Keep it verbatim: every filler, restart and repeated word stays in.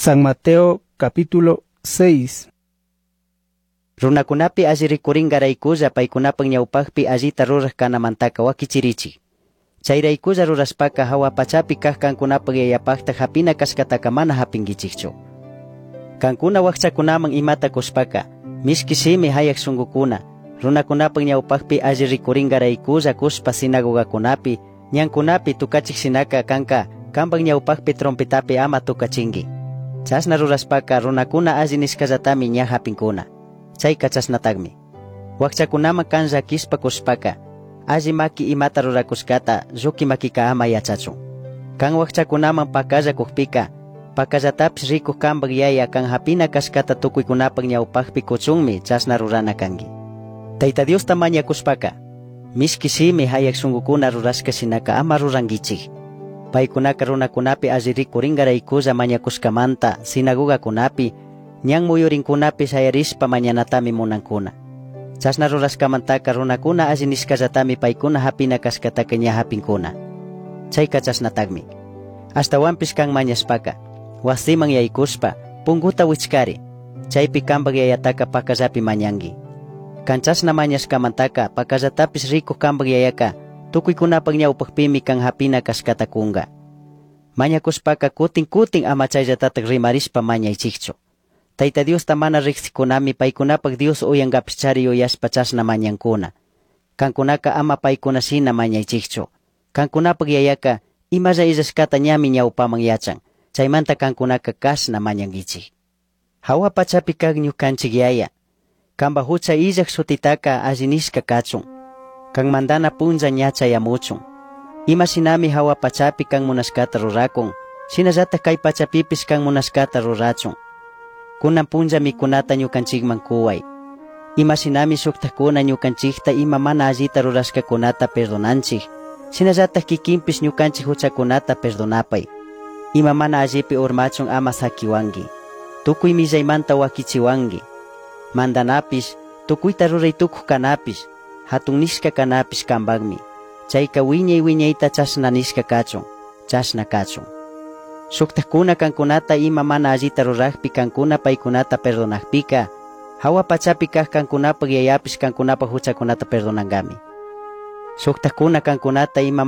San Mateo capítulo seis. Runakunapi alli rikurinkaraykulla paykunapak ñawpakpi allita ruraj kanamantaka wakichirichik. Chayraykulla rurashpaka hawa pachapi kaj kankunapak yayapakta hapina kashkataka mana hapinkichikchu. Kankuna wakchakunaman imata kushpaka, mishki shimi hayak shunkukuna, runakunapak ñawpakpi alli rikurinkaraykulla kushpa sinagogakunapi, ñankunapi tukachik shinaka kanka kanpak ñawpakpi trompetapi ama tukachinki. Chashna rurashpaka runakuna alli nishkallatami ña hapinkuna. Chayka chashnatakmi. Wakchakunaman kan llakishpa kushpaka, alli maki imata rurakushkata lluki makika ama yachachun. Kan wakchakunaman pakalla kukpika, pakallatapish rikuk kanpak yaya kan hapina kashkata tukuykunapak ñawpakpi kuchunmi chashna rurana kanki. Tayta Diosta mañakushpaka, mishki shimi hayak shunkukuna rurashka shinaka ama rurankichik. Paykunaka runakunapi alli rikurinkaraykulla mañakushkamanta sinagogakunapi, ñan muyurinkunapi shayarishpa mañanatami munankuna. Chashna rurashkamantaka runakuna alli nishkallatami paykuna hapina kashkataka ña hapinkuna. Chayka chashnatakmi. Ashtawanpish kan mañashpaka, wasiman yaykushpa, punguta wichkari, chaypi kanpak yayataka pakallapi mañanki. Kan chashna mañashkamantaka pakallatapish rikuk kanpak yayaka tukuykunapak ñawpakpimi kan hapina kashkata kunka. Mañakushpaka kutin kutin ama chayllatatak rimarishpa mañaychikchu. Tayta Diosta mana riqsikunami paykunapak Dios uyankapishchari yuyashpa chashna mañankuna. Kankunaka ama paykuna shina mañaychikchu. Kankunapak yayaka imalla illashkata ñami ñawpaman yachan. Chaymanta kankunaka kashna mañankichik. Hawa pachapi kak ñukanchik yaya, kanpak hucha illak shutitaka alli nishka kachun. Kan mandana punlla ña chayamuchun. Ima shinami hawa pachapi kan munashkata rurakun, shinallatak kay pachapipish kan munashkata rurachun. Kunan punlla mikunata ñukanchikman kuway. Ima shinami shuktakuna ñukanchikta ima mana allita rurashkakunata perdonanchik, shinallatak kikinpish ñukanchik huchakunata perdonapay. Ima mana allipi urmachun ama sakiwanki. Tukuy millaymanta wakichiwanki. Mandanapish, tukuyta ruray tukuj kanapish, hatun nishka kanapish kanpakmi. Chayka wiñay wiñayta chashna nishka kachun, chashna kachun. Shuktakuna kankunata ima mana allita rurakpi kankuna paykunata perdonakpika, hawa pachapi kaj kankunapak yayapish kankunapak huchakunata perdonankami. Shuktakuna kankunata ima